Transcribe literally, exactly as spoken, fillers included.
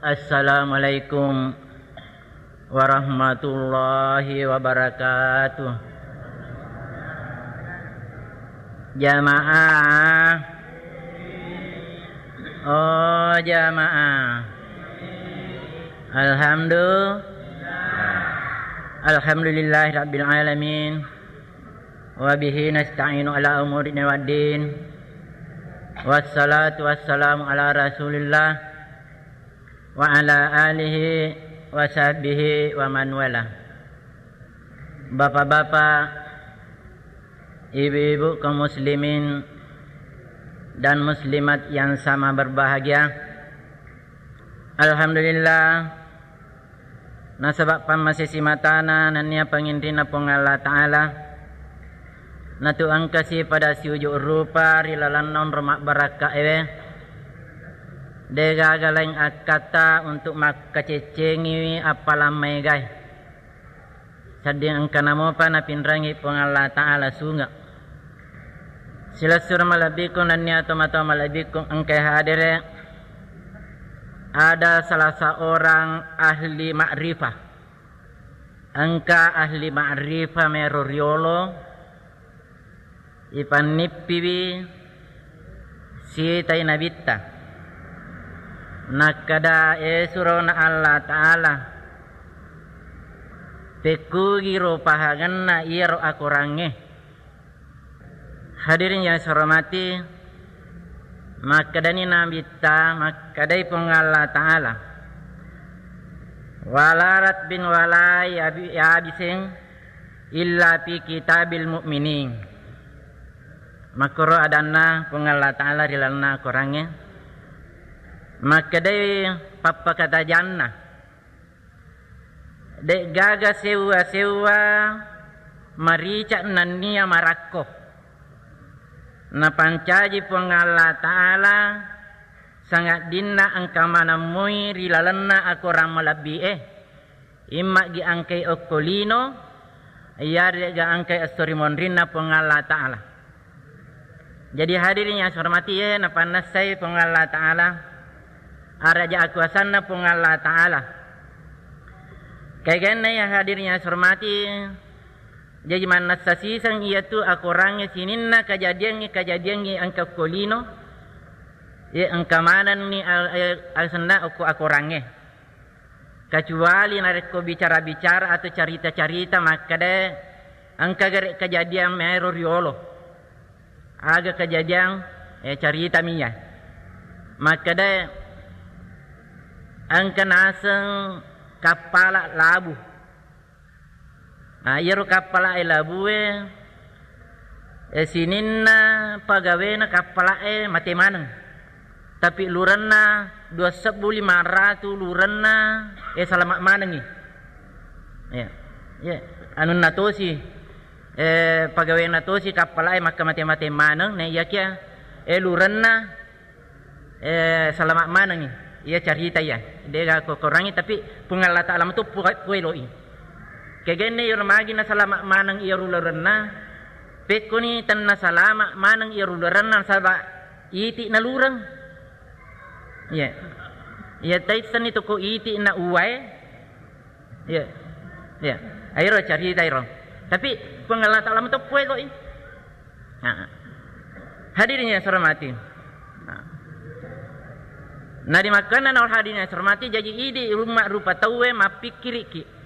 Assalamualaikum warahmatullahi wabarakatuh. Jamaah. Oh, jamaah. Alhamdulillah. Alhamdulillahi rabbil alamin. Wa bihi nasta'inu ala umuri dunya waddin. Wassalatu wassalamu ala Rasulillah wa ala alihi wa sahbihi wa man wala. Bapak-bapak, ibu-ibu, kaum muslimin dan muslimat yang sama berbahagia. Alhamdulillah, nasaba pammasesi matana nennia panginrinna Puang Allah Ta'ala, natu engkasi pada siuju rupa ri lalenna onro mabbarakka ewe. Degaga laing akkatta untuk makkaceccengiwi appalang maegae. Sedding engkana mopa napinrangi Puang Allah Ta'ala sunge. Silessureng malebbiku nennia tomatoa malebbiku engkai hadere, ada salah seorang ahli ma'rifah. Engka ahli ma'rifah mero riolo, ipannippiwi sitai nabitta. Nakkeda, "E surona Allah Ta'ala, pekkugiro pahangenna iyaro akorangnge?" Hadirin yang saya hormati, makkedani nabitta, makkedai Puang Allah Ta'ala, "Wala ratbin wala yabi-, yabising illa fi kitabil mu'minin." Makkoro adanna Puang Allah Ta'ala ri lalenna Korangnge. Makkedai pappakatajanna, "De'gaga sewwa-sewwa marica nennia marakko." Napancaji Puang Allah Ta'ala sangaddinna engka maneng moi ri lalenna akorang malebbi'e. Imma'gi engkai okko lino, iyare'ga engkai esso ri monrinna Puang Allah Ta'ala. Jadi hadirin yang saya hormati, e, napannessai Puang Allah Ta'ala, araja akuasanna Puang Allah Ta'ala. Kegenna ya hadirin yang saya hormati, jaji mannessa siseng iyatu akorangnge sininna kajadiangnge-kajadiangnge engka okko lino, ye engka manenni al-, al-, asenna okko akorangnge. Kecuali narekko bicara-bicara atau carita-carita makkeda engka gare kejadian maero riolo. Aga kejadian, eh, carita miya. Makkeda engka naseng kappala labu. Nah, iyaro kappala'e labue, eh, sininna pagawena kappala'e mate maneng. Tapi lurenna dua sebbu lima ratu lurenna, eh, salama manengngi. Ya. Ya, anunna tosi, eh, pagawena tosi kappala'e makka mate-mate maneng, na iyakiya, eh, lurenna eh, salama manengngi. Iya carita iya. De'ga ko korangngi, tapi Puang Allah Ta'ala metu pu-, pueloi. Kegenna iyaro magi nasalama maneng iyaro lurenna, pekkoni tenna salama maneng iyaro lurenna nasaba iti nalureng. Iya. Iya taissenni toko iti na uwae. Iya. Iya. Airo carita iro. Tapi Puang Allah Ta'ala metu pueloi. Nah. Hadirin yang saya hormati. Nah. Nah, di makkana naur hadirin yang saya hormati, jaji idi rumma rupa tauwe mappikkiriki.